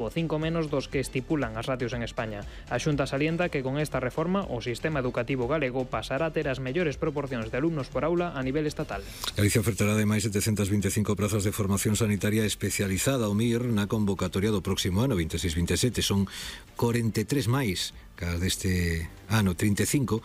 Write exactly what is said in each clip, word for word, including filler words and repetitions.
o cinco menos dos que estipulan as ratios en España. A Xunta salienta que con esta reforma o sistema educativo galego pasará a ter as mellores proporcións de alumnos por aula a nivel estatal. Galicia ofertará ademais setecentas vinte e cinco prazas de formación sanitaria especializada ao M I R na convocatoria do próximo ano vinte e seis vinte e sete. Son corenta e tres máis cas deste ano, trinta e cinco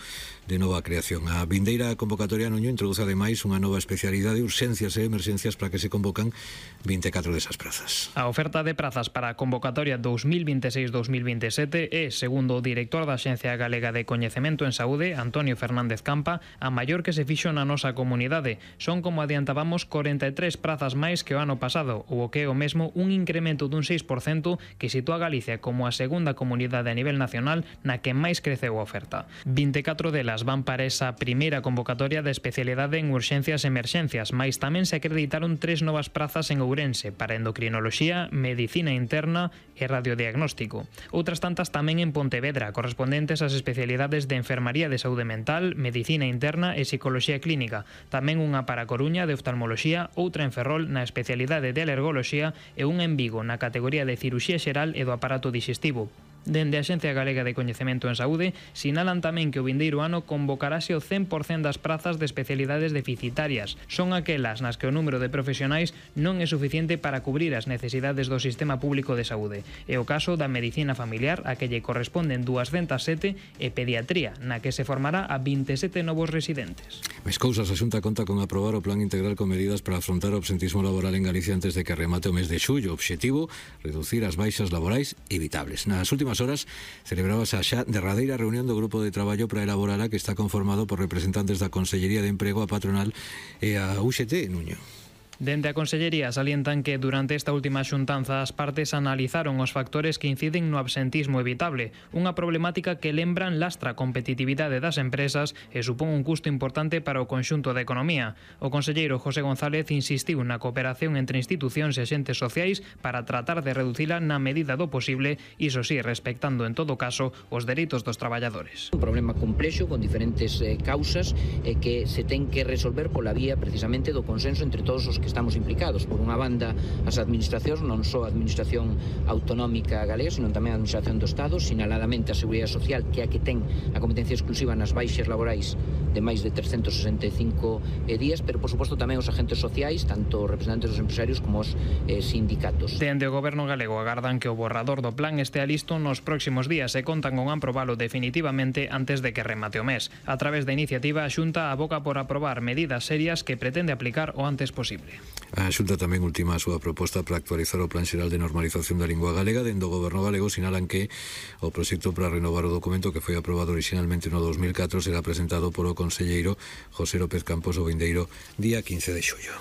de nova creación. A vindeira convocatoria Nuño introduce ademais unha nova especialidade, urxencias e emerxencias, para que se convocan vinte e catro desas prazas. A oferta de prazas para a convocatoria dous mil vinte e seis dous mil vinte e sete é, segundo o director da Axencia Galega de Coñecemento en Saúde, Antonio Fernández Campa, a maior que se fixo na nosa comunidade. Son, como adiantábamos, corenta e tres prazas máis que o ano pasado, ou o que é o mesmo un incremento dun seis por cento que sitúa a Galicia como a segunda comunidade a nivel nacional na que máis creceu a oferta. vinte e catro delas van para esa primeira convocatoria de especialidade en urxencias e emerxencias, mais tamén se acreditaron tres novas prazas en Ourense para endocrinoloxía, medicina interna e radiodiagnóstico. Outras tantas tamén en Pontevedra, correspondentes ás especialidades de enfermaría de saúde mental, medicina interna e psicoloxía clínica. Tamén unha para Coruña de oftalmoloxía, outra en Ferrol na especialidade de alergoloxía e unha en Vigo na categoría de ciruxía xeral e do aparato dixestivo. Dende a Axencia Galega de Coñecemento en Saúde sinalan tamén que o vindeiro ano convocarase o cen por cento das prazas de especialidades deficitarias. Son aquelas nas que o número de profesionais non é suficiente para cubrir as necesidades do sistema público de saúde. É o caso da medicina familiar, a que lle corresponden duascentas sete, e pediatría, na que se formará a vinte e sete novos residentes. Mais cousas, a Xunta conta con aprobar o plan integral con medidas para afrontar o absentismo laboral en Galicia antes de que remate o mes de xullo. Obxectivo, reducir as baixas laborais evitables. Nas últimas horas celebrábase a xa derradeira reunión do grupo de traballo para elaborala, que está conformado por representantes da Consellería de Emprego, a patronal e a U X T, Nuño. Dende a Consellería salientan que durante esta última xuntanza as partes analizaron os factores que inciden no absentismo evitable, unha problemática que lembran lastra a competitividade das empresas e supón un custo importante para o conxunto da economía. O conselleiro José González insistiu na cooperación entre institucións e axentes sociais para tratar de reducila na medida do posible, iso sí, respectando en todo caso os dereitos dos traballadores. Un problema complexo con diferentes eh, causas eh, que se ten que resolver pola vía precisamente do consenso entre todos os que estamos implicados. Por unha banda, as administracións, non só a administración autonómica galega, sino tamén a administración do Estado, sinaladamente a Seguridade Social, que é a que ten a competencia exclusiva nas baixas laborais de máis de trescentos sesenta e cinco días, pero por suposto tamén os agentes sociais, tanto representantes dos empresarios como os eh, sindicatos. Dende o Goberno galego agardan que o borrador do plan estea listo nos próximos días e contan con aprobalo definitivamente antes de que remate o mes. A través da iniciativa, a Xunta aboca por aprobar medidas serias que pretende aplicar o antes posible. A Xunta tamén ultima a súa proposta para actualizar o Plan Xeral de Normalización da Lingua Galega. Dende o Goberno galego sinalan que o proxecto para renovar o documento, que foi aprobado originalmente no dos mil catro, será presentado polo conselleiro José López Campos o vindeiro día quince de xullo.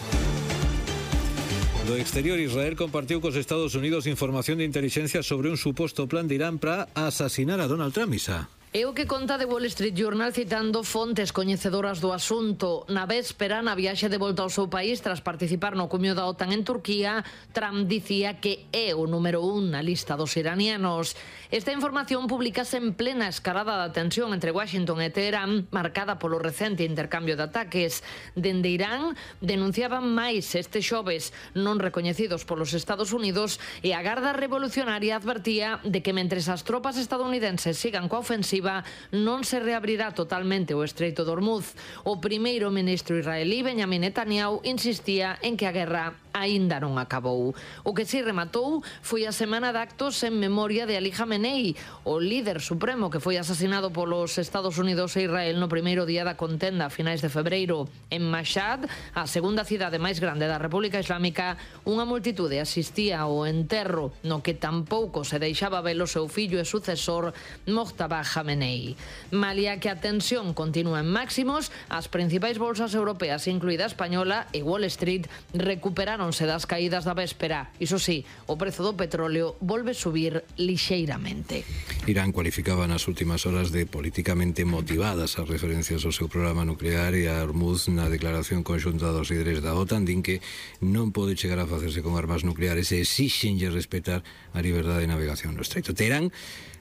Do exterior, Israel compartiu cos Estados Unidos información de inteligencia sobre un suposto plan de Irán para asasinar a Donald Trump. Isa. É o que conta The Wall Street Journal citando fontes coñecedoras do asunto. Na véspera, na viaxe de volta ao seu país tras participar no cumio da OTAN en Turquía, Trump dicía que é o número un na lista dos iranianos. Esta información publicase en plena escalada da tensión entre Washington e Teherán, marcada polo recente intercambio de ataques. Dende Irán denunciaban máis este xoves non recoñecidos polos Estados Unidos, e a Garda Revolucionaria advertía de que mentres as tropas estadounidenses sigan coa ofensiva, non se reabrirá totalmente o Estreito de Hormuz. O primeiro ministro israelí, Benjamin Netanyahu, insistía en que a guerra aínda non acabou. O que si rematou foi a semana de actos en memoria de Ali Khamenei, o líder supremo que foi asasinado polos Estados Unidos e Israel no primeiro día da contenda a finais de febreiro. En Mashhad, a segunda cidade máis grande da República Islámica, unha multitude asistía ao enterro no que tampouco se deixaba ver o seu fillo e sucesor, Mojtaba Khamenei. Malia que a tensión continúa en máximos, as principais bolsas europeas, incluída a española e Wall Street, recuperaron das caídas da véspera. Iso sí, o prezo do petróleo volve subir lixeiramente. Irán cualificaba nas últimas horas de políticamente motivadas as referencias ao seu programa nuclear e a Hormuz na declaración conxunta dos líderes da OTAN. Din que non pode chegar a facerse con armas nucleares e exixenlle respetar a liberdade de navegación no Estreito. Teherán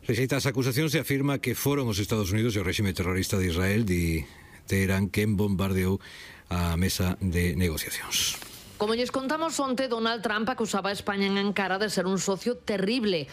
rexeita as acusacións e afirma que foron os Estados Unidos e o réxime terrorista de Israel, di Teherán, quen bombardeou a mesa de negociacións. Como lles contamos onte, Donald Trump acusaba a España en Ankara de ser un socio terrible.